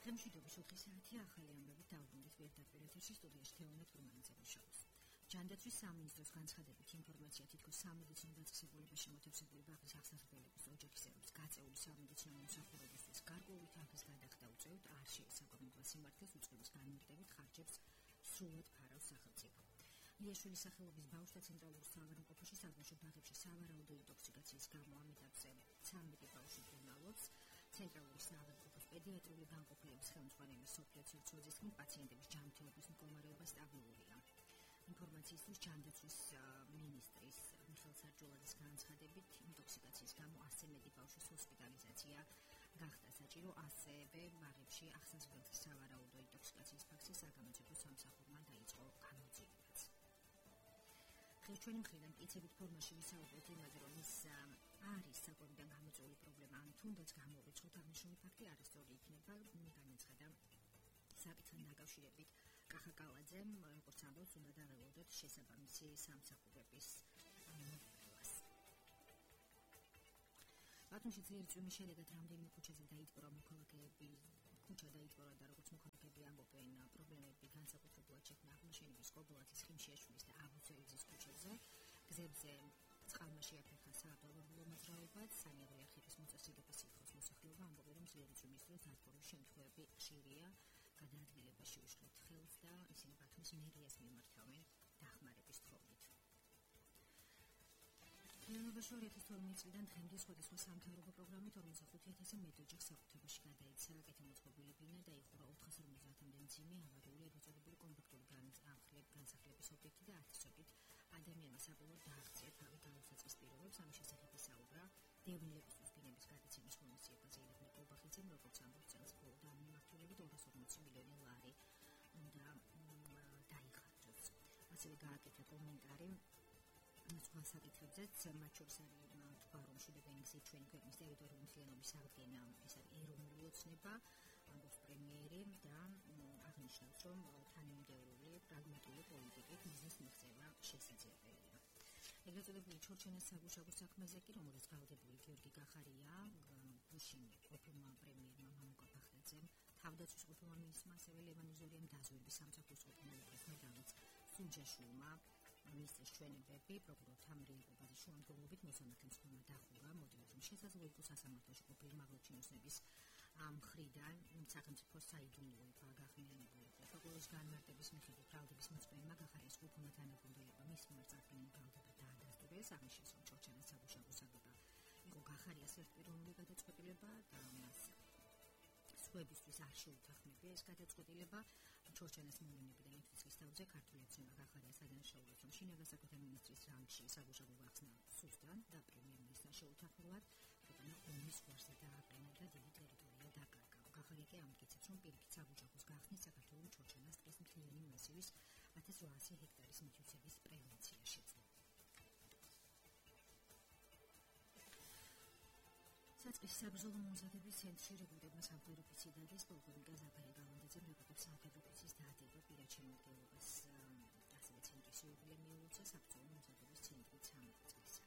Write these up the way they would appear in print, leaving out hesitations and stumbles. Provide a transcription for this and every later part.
Დღემშვიდობის 4 საათი ახალი ამბებით დაუბრუნდით პირდაპირ ეთერში სტუდიაში თეონე თურმანიძე მუშაობს. ჯანდაცვის სამინისტროს განცხადებით ინფორმაცია თითქოს სამედიცინო დაწესებულებას შემოთავსებული ბაღის აღსაზრდელების ოჯახის ერებს გაწეული სამედიცინო მომსახურებისთვის გარკვეული თანხის გადახდა უწევთ არ შეესაბამება სიმართლეს უწყების განმარტებით ხარჯებს სრულად ფარავს სახელმწიფო. ლიაშვილის სახელობის ბავშვთა ცენტრალურ საავადმყოფოში საბავშვო ბაღებში სავარაუდო ინტოქსიკაციის გამო ამ ეტაპზე 13 ბავშვი ბრუნავობს. ცენტრალური საავადმყოფოს პედიატრიული განყოფილების ხელმძღვანელი სოფია ცირცოძის თქმით, პაციენტების ჯანმრთელობის მდგომარეობა სტაბილურია. ინფორმაციისთვის ჯანდაცვის მინისტრის მიხეილ სარჯულაძის განცხადებით, ინტოქსიკაციის გამო 100 მეტი ბავშვის ჰოსპიტალიზაცია გახდა საჭირო, ასევე ბაღებში აღსაზრდელთა სავარაუდო ინტოქსიკაციის ფაქტზე საგამოძიებო სამსახურმა დაიწყო გამოძიებაც. ჩვენი მხრიდან მტკიცებით ფორმაში ვისაუბრეთ იმაზე, რომ ის არის საკვებიდან გამოწვეული პრობლემა, ან თუნდაც გამოვიწყოთ აღნიშნული ფაქტი არასწორი იქნება, განაცხადა საკითხთან დაკავშირებით კახა კალაძემ, როგორც ამბობს, უნდა დაველოდოთ შესაბამისი სამსახურების მიღებას. ბათუმში ძლიერი წვიმის შედეგად რამდენიმე ქუჩაზე დაიტბორა მოქალაქეები, ქუჩა დაიტბორა და როგორც მოქალაქეები ამბობენ, პრობლემები განსაკუთრებულად შექმნა აღმაშენების კობილათის, ხიმშიაშვილის და აბუცელიძის ქუჩებზე. გზებზე წყალმა შეაფერხა საავტომობილო მოძრაობაც, სანიადრე არხების მოწესრიგების სიტყვის მოსახლეობა ამბობენ, რომ ძლიერი წვიმის დროს დადგომის შემთხვევები ხშირია, გადაადგილებაში უშლით ხელს და ისინი ბათუმის მერიას მიმართავენ დახმარების თხოვნით. Იანვარში 2012 წლიდან დღემდე სხვადასხვა სამთავრობო პროგრამით 45,000 მეტ ოჯახს საკუთრებაში გადაეცა კეთილმოწყობილი ბინა და იხურა 450-მდე მძიმე ავარიული ეპიზოდური კომპაქტური განსახლების ობიექტი და ათასობით ადამიანმა საბოლოოდ დააღწია თავი გადასაწყის პირობებს. ამის შესახებ ისაუბრა დევნილებისთვის ბინების გადაცემის ღონისძიებაზე ირაკლი კობახიძემ, როგორც ამბობს, წელს მხოლოდ ამ მიმართულებით 240 მილიონი ლარი უნდა დაიხარჯოს. ასევე გააკეთა კომენტარი სხვა საკითხებზეც, მათ შორის არის თქვა, რომ შვიდებიანი გზით ჩვენი ქვეყნის ტერიტორიული მთლიანობის აღდგენა ეს არის ეროვნული ოცნება, ამბობს პრემიერი და აღნიშნავს, რომ თანამიმდევრული პრაგმატული პოლიტიკით მიზნის მიღწევა შესაძლებელია. ეგრეთ წოდებული ჩორჩენას საგუშაგო საქმეზე კი, რომელზეც გაუგებული გიორგი გახარია, გუშინ ყოფილმა პრემიერმა მამუკა ბახტაძემ, თავდაცვის ყოფილმა მინისტრმა, ასევე ლევან იზორიამ დაზვერვის სამსახურის ყოფილ მედალიც სუნჯაშვილმა მინისტრის ჩვენებები პროკურორთა მრეწველობის შემადგენლობით მოსამართლე მცდელმა დახურა, მოდივით, რომ შესაძლოა იყოს სასამართლოში ყოფილი მაღალჩინოსნების მხრიდან სახელმწიფო საიდუმლოება გახმიანებული. პროკურორის განმარტების მიხედვით ბრალდების მოწმეებმა გახარიას ყოფილმა თანაგუნდელებმა მის მიმართ წარდგენილი ბრალდება დაადასტურეს. ამის შესახებ ჩორჩენას საგუშაგო საგება იყო გახარიას ერთპიროვნული გადაწყვეტილება და მას სხვებისთვის არ შეუთანხმებია ეს გადაწყვეტილება. ჩორჩენას მოვლენებიდან ითვლის თავზე ქართული ოცნება გახარიას ადანაშაულებს, რომ შინაგან საქმეთა მინისტრის რანგში საგუშაგო გახსნა სუსტად და პრემიერ-მინისტრთან შეუთანხმებლად ქვეყანა ომის გვარზე დააყენა და დიდი ტერიტორია დაკარგა. გახარია კი ამტკიცებს, რომ პირიქით საგუშაგოს გახსნით საქართველოს ჩორჩენას ტყის მთლიანი მასივის 1800 ჰექტარის მითვისების პრევენცია შეძლო. საწყის საბრძოლო მომზადების ცენტრში რეგულირებმა სამხედრო ოფიციდადის პოლკოვნიკა ზაქარია გალანდაძემ რეგულირებს სამხედრო ოფიცრის დაადება პირად შემოდგენობას. ასევე ცენტრის იუბილე მიულოცა საბრძოლო მომზადების ცენტრი 13 წლისა.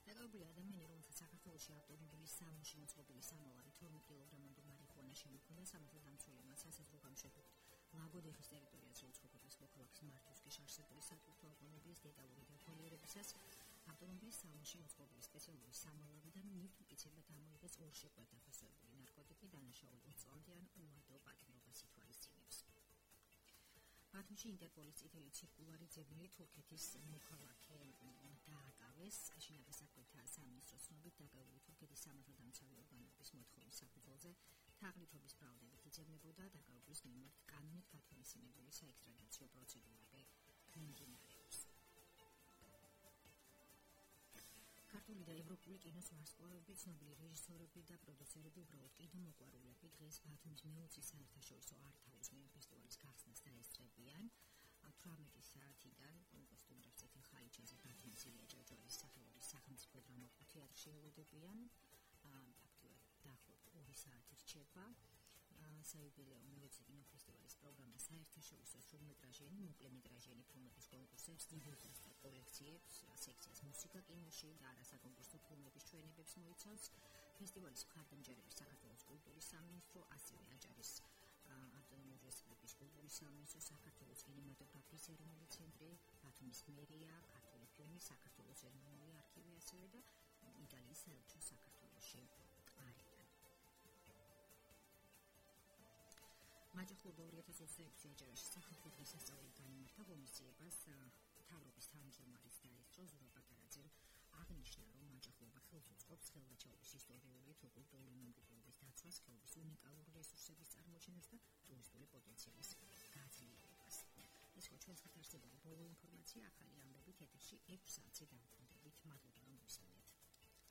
დაკავებული ადამიანი, რომელსაც საქართველოში ავტომობილის სამუშაო მოწყობილი სამალავი 12 კილოგრამამდე მარიხუანა შემოქმნა, სამართალდამცველებმა სასაზღვრო გამოშვებით ლაგოდეხის ტერიტორიაზე უცხოეთის მოქალაქის მართვისკენ არსებული სატვირთო ავტომობილის დეტალური დათვალიერებისას ავტომობილის სამუშაო მოწყობილი სპეციალური სამალავიდან მიტკიცებად ამოიღეს ორშეკვეთ დაფასებული ნარკოტიკი, დანაშაული 20 წლამდე ან უადო პატიმრობას ითვალისწინებს. ბათუმში ინტერპოლის წითელი ცირკულარი ძებნილი თურქეთის მოქალაქე დააკავეს. შინაგან საქმეთა სამინისტროს ცნობით, დაკავებული თურქეთის სამართალდამცავი ორგანოების მოთხოვნის საფუძველზე თაღლითობის ბრალდებით იძებნებოდა დაკავებულის მიმართ კანონით გათვალისწინებული საექსტრადიციო პროცედურები მიმდინარეობს. ქართული და ევროპული კინოს ვარსკვლავები, ცნობილი რეჟისორები და პროდიუსერები, უბრალოდ კინომოყვარულები დღეს ბათუმის მეოცე საერთაშორისო არტ-ჰაუს კინოფესტივალის გახსნას დაესწრებიან. 18 საათიდან კომპოზიტორებს წითელ ხალიჩაზე ბათუმის ილია ჭავჭავაძის სახელობის სახელმწიფო დრამატულ თეატრში ელოდებიან. ფაქტობრივად დაახლოებით 2 საათი რჩება. საიუბილეო მეოცე კინოფესტივალის პროგრამა საერთაშორისო სრულმეტრაჟიანი, მოკლემეტრაჟიანი ფილმების კონკურსებს, დიბუტას და კოლექციებს, სექციას მუსიკა კინოში და არასაკონკურსო ფილმების ჩვენებებს მოიცავს. ფესტივალის მხარდამჭერები საქართველოს კულტურის სამინისტრო, ასევე აჭარის კულტურის სამინისტრო, საქართველოს კინემატოგრაფიის ეროვნული ცენტრი, ბათუმის მერია, ქართული ფილმი, საქართველოს ეროვნული არქივი, ასევე და იტალიის საელჩო საქართველოში არიან. მაჯახურდა 2026 აჯარაში სახელმწიფო დღესასწაული განიმართა ღონისძიებას მთავრობის თავმჯდომარის დაესწრო ზურაბ პატარაძემ აღნიშნა, რომ მაჯახურობა ხელს უწყობს ხელვაჩაობის ისტორიული თუ კულტურული მემკვიდრეობის დაცვას, ხეობის უნიკალური რესურსების წარმოჩენას და ტურისტული პოტენციალის გაძლიერებას. ეს ხო ჩვენს ხართ არსებული ბოლო ინფორმაცია, ახალი ამბებით ეთერში 6 საათზე დავუდგა.